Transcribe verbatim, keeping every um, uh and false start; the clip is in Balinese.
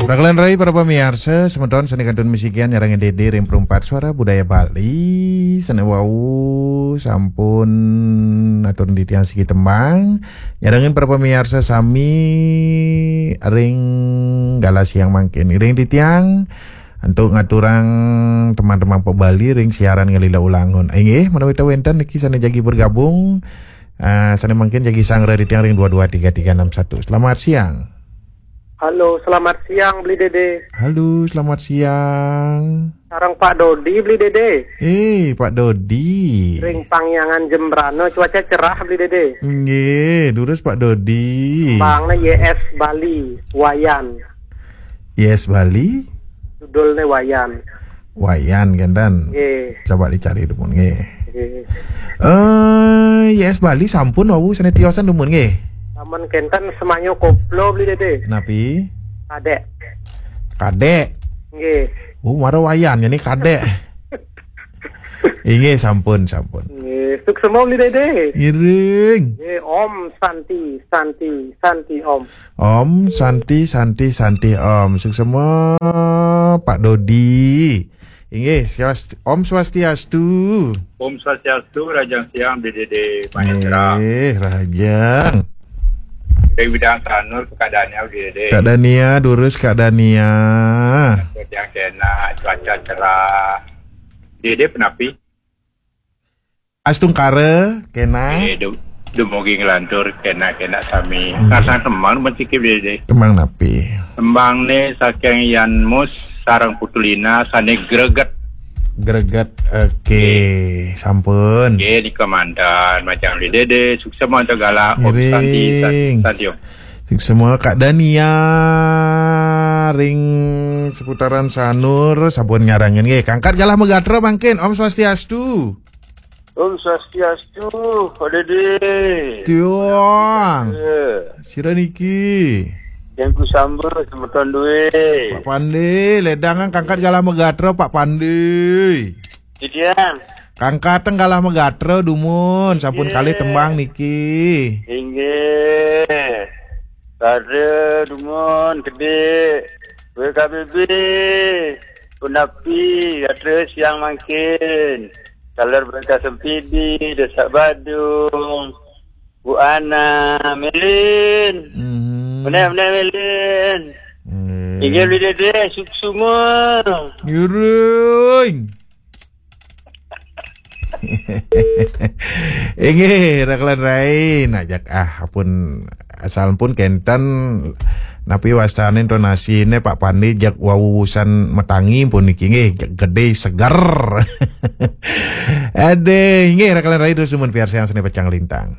Rakelan rai para pamiarsa, semeton sane kantun misikian nyarengin Dede ring Perumpat Suara Budaya Bali, sane wau sampun atur titiang siki tembang, nyarengin para pamiarsa sami ring galah siang mangkin. Iring titiang antuk ngaturang teman-teman Pok Bali ring siaran ngalila ulangun. Inggih, menawi ta wenten niki sane jagi bergabung, eh, sane mangkin jagi sanggra titiang ring dua dua tiga tiga enam satu. Selamat siang. Halo, selamat siang, Beli Dede. Halo, selamat siang. Sareng Pak Dodi, Beli Dede. Eh, Pak Dodi. Ring Pangyangan Jembrana, cuaca cerah, Beli Dede. Nggih, durus Pak Dodi. Tembangnya Y S Bali, Wayan. Y S Bali? Judulnya Wayan. Wayan, kenten. Nggih. Coba dicari dumun, nggih. Nggih. Eh, Y S Bali sampun wau sane tiosan dumun, nggih. Sampun kenten semanyo koplo, Beli Dede. Napi? Kadek. Kadek. Nggih. Oh, mara Wayan, ini kadek. Inggih, sampun, sampun. Nggih, suksema, Beli Dede. Ngiring. Nggih, Om Santi, Santi, Santi Om. Om Santi, Santi, Santi Om. Suksema Pak Dodi. Inggih, swastiastu, Om Swastiastu. Om Swastiastu, rahajeng siang, Beli Dede Mahendra. Nggih, rahajeng. Ring Bidang Sanur, Kak Dania, Beli Dede. Kak Dania, durus Kak Dania. Yang kena, cuaca cerah. Beli Dede, penapi? Astungkara, kena. Eh, du-, dumugi nglantur kena-kena sami. Nggih. Ngarsan tembang menciki, Beli Dede. Tembang napi? Tembang ne saking Yan Mus sareng Putulina sane greget. Greget, oke. Nggih. Sampun. Nggih, nika mantan majang Beli Dede, suksema antuk galah, Om Santi, Santi, Ngiring. Santi Om. Suksema Kak Dania ring seputaran Sanur, sampun nyarengin nggih. Kangkat galah megatra mangkin, Om Swastiastu. Om Swastiastu, Pak Dede. Tiang. Eh. Sira niki? Yang ku sambut, semeton duwe. Pak Pande, ledangan kangkat galah megatra, Pak Pande. Titiang. Kangkateng galah megatra dumun, sampun Nggih. Kalih tembang niki. Inggih. Pada dumun gede. W K B B. Punapi, gatra siang mangkin. Taler Bangka Sempidi, Desa Badung. Bu Ana, Melin. Mhm. Meneh, meneh, Melin. Nggih. Inggih, Beli Dede, suksma. Ngiring. Inggih, rakelan rai, nah jak, ah, pun asal pun kenten napi wastane intonasine Pak Pandi jak wawusan metangi pun niki nggih, jak gede seger. Ade, inggih rakelan rai terus dumun piarsayang sane pecang lintang.